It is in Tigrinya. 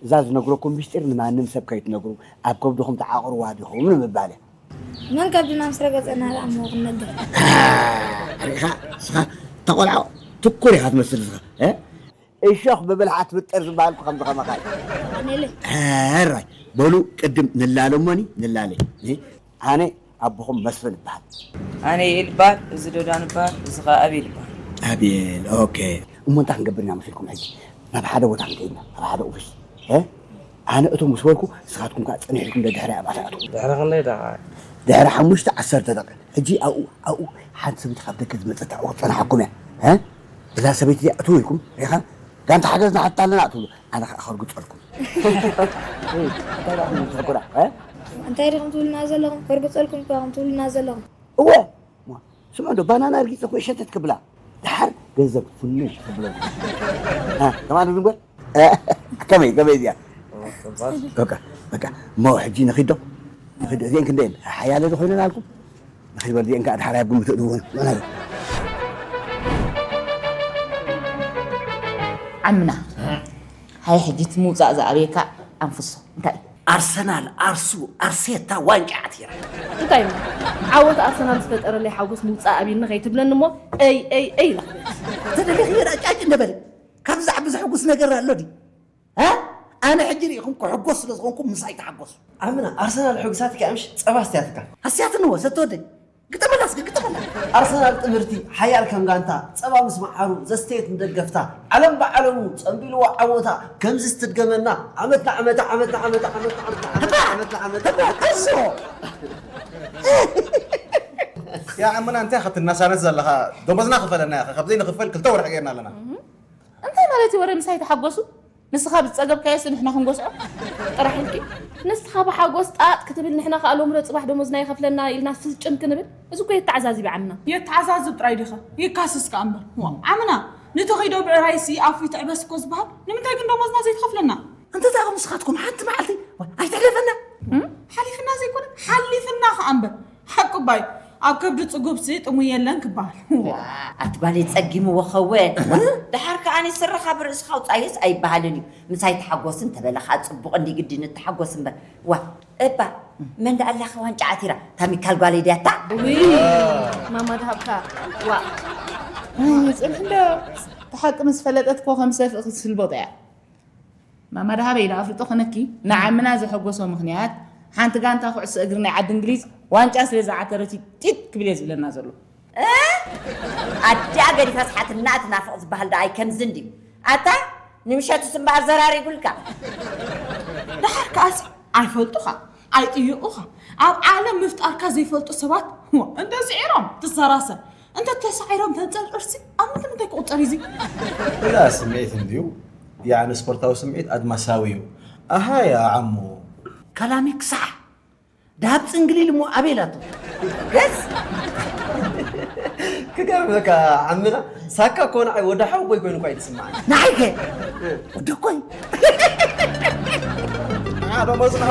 እዛ ዝነግረኩም ምስጢር ንማንም ሰብ ከይትነግሩ፣ ኣብ ከብድኹም ተዓቕርዋ ዲኹም ንምባል እያ። መን ከብድና ምስ ረገጸና ደኣ እሞ ክንነግር? ርኢኻ፣ ንስኻ ተቆልዓ ትኩር ኢኻ ትመስል ንስኻ። እ? እሾኽ ብብልሓ ትብጥር ዝበሃል እኮ ከምዚ ከማኻ እዩ። ኣነለ ሕራይ በሉ፣ ቅድም ንላለ እሞኒ ንላለ። እ? ኣነ ኣቦኹም መስፍን እበሃል። ኣነ ይእል እበሃል፣ እዚ ዶዳን እበሃል፣ እዚ ኸዓ ኣቤል እበሃል። ኣቤል፣ ኦኬ። እሞ እንታይ ክንገብር ኢና መሲልኩም ሕጂ? ናብ ሓደ ቦታ ክንከይድ ኢና፣ ናብ ሓደ ኦፊስ። እ? ኣነ እቶ ምስ በልኩ፣ ንስኻትኩም ከኣ ጽንሕ ኢልኩም ደድሕሪ ኣብኣ ትኣትዉ። ድሕሪ ክንደይ ደቓ? ድሕሪ ሓሙሽተ ዓሰርተ ደቂቕ። ሕጂ ኣብኡ፣ ኣብኡ ሓንቲ ሰበይቲ ካብ ደገ ዝመጸት ኣብኡ ክትጸንሓኩም እያ። እ? እዛ ሰበይቲ እዚኣ እትው ኢልኩም፣ ሪኢኻ? ጋንታ ሓገዝ ንሓትት ኣለና ትብሉ። ኣነ ከኣ ከርግጸልኩም። እንታይ ደኣ ትብሉ ትሕጉራ? እ? እንታይ ዲኹም ትብሉና ዘለኹም? ከርግጸልኩም እኮ ኢኹም ትብሉና ዘለኹም። እወ። ስምዑ እንዶ፣ ባናና ርጊጸ እኮ እየ ሸተት ክብላ። ደሓር ገንዘብ ፍኑ ክብለኩም። እ፣ ከማን ንግበር? እ፣ ከመይ፣ ከመይ እዚኣ? በቃ፣ በቃ። እሞ ሕጂ ንኺድ ዶ? ንኺድ ዶ? እዚአን ክንደየን? ሓያለ ዶ ኮይነን ኣልኩም? ንኺድ በል፣ እዚአን ከኣ ደሓር ኣብ ግምት እእትወን። ዓምና፣ ሃይ ሕጂ እቲ ምውጻእ ዝኣበየካ ኣንፍሶ እንታይ እዩ? ኣርሰናል፣ ኣርሱ፣ ኣርሴታ ዋንጫ ዓቲራ። እንታይ እዩ? ዓወት ኣርሰናል ዝፈጠረለይ ሓጎስ ምውጻእ ኣብይኒ ከይትብለኒ እሞ፣ እይ፣ እይ፣ እይ ኢላ ክብል። ተደሊኺ ራጫጭ እንደበለ። ካብዚ ዝዓቢ ዘሐጉስ ነገር ኣሎ ድዩ? እ? ኣነ ሕጂ ርኢኹም ክሕጎስ ስለ ዝኾንኩም ምሳይ ተሓጎሱ። ዓምና፣ ኣርሰናል ሕጉሳትኪ ኣምሽ ጸባ ኣስትያትካ። ኣስትያትንዎ፣ ሰተወደይ። ግጠመላ እስኪ፣ ግጠመላ። ኣርሰናል ጥምርቲ፣ ሓያል ከም ጋንታ፣ ጸባ ምስ መዓሩ ዘስተየት ንደገፍታ፣ ዓለም ብዓለሙ ጸምቢልዎ ዓወታ፣ ከምዚ ስትድገመና፣ ዓመት ንዓመት፣ ዓመት ንዓመት፣ ዓመት ንዓመት፣ ዓመት ንዓመት፣ ዓመት ንዓመት። እሶ! ያ ዓምና፣ እንታይ ኢኻ ትናሳነስ ዘለኻ? ደሞዝና ክፈለና ኢኻ፣ ካብ ዘይንኽፈል ክልተ ወርሒ ጌርና ኣለና። እንታይ ማለት እዩ ወረ ምሳይ ተሓጎሱ? ንስኻ ብዝጸገብካዮስ ንሕና ክንጎስዖ ጥራሕ ኢልኪ? ንስኻ ብሓጎስ ጣጥ ክትብል ንሕና ከኣ ሎምዶ ጽባሕ ደሞዝና ይኸፍለና ኢልና ስጭን ክንብል? እዚ እኮ የተዓዛዝብ ዓምና። የተዓዛዝብ ጥራይ ዲኻ? ይካስስ ከኣ እምበር። ዋእ፣ ዓምና፣ ንተኺዶ ብዕራይሲ ኣፉ ይትዕበስ እኮ ዝበሃል። ንምንታይ ግን ደሞዝና ዘይትኸፍለና? እንተ ደኣ ንስኻትኩም ሓንቲ መዓልቲ ኣይትሕለፈና። እም? ሓሊፍና ዘይኮነ፣ ሓሊፍና ከኣ እምበር። ሓቁ እባ እዩ፣ ኣብ ከብዲ ጽጉብሲ ጥሙይ የለን ክበሃል። ኣቲ ጓለይ ጸጊምዎ ኸወ። ደሓር ከኣ ኣነ ስርኻ ብርእስኻ ኣውጻዮስ ኣይበሃልን እዩ። ምሳይ ተሓጎስ እንተበለ ኸኣ ጽቡቕ እንዲ ግዲ ንተሓጎስ እምበር። ዋ፣ እባ መን ደኣ ኣላኸ ዋንጫ ዓቲራ? ታሚካል ጓለይ ድያ እታ? ውይ፣ ማማ ድሃብካ። ዋ። ጽንሕ እንዶ፣ እቲ ሓቂ ምስ ፈለጠት እኮ ከም ሰፍእ ክትስልበጦ እያ። ማማ ደሃበ ኢለ ኣፍልጦ ክነኪ ንዓምና ዘሐጎሶ ምኽንያት ሓንቲ ጋንታ ኩዕሶ እግሪ ናይ ዓዲ እንግሊዝ ዋንጫ ስለ ዝዓተረት እዩ ጢጥ ክብል እየ ዝብለና ዘሎ። እ? ኣዲኣ ገዲፋ ስሓትና ትናፍቕ ዝበሃል ደኣ ኣይከምዚ እንድዩ። ኣታ ንምሸትስ እምበኣር ዘራሪጉልካ። ደሓር ከኣሲ ኣይፈልጡኻ ኣይጥይቑኻ ኣብ ዓለም ምፍጣርካ ዘይፈልጡ ሰባት እንተ ስዒሮም ትሰራሰር እንተ ተሳዒሮም ተንጸል ቅርሲ ኣብ ምንታይ ምንታይ ክቑጸር እዩ እዚ? እዛ ስምዒት እንድዩ ያዕኒ ስፖርታዊ ስምዒት ኣድማሳዊ እዩ። ኣሃ ያ ዓሞ። ካላሚክ ሳሕ ደሃብ ጽንግሊል እሞ ኣበይ ኢላቶ? ገስ ክገርመካ ዓምና ሳካ እኮ ንዓይ ወዲ ሓወቦይ ኮይኑ እኳ እዩ ዝስምዓኒ። ንዓይ ከ ወደኮይ ደሞዝና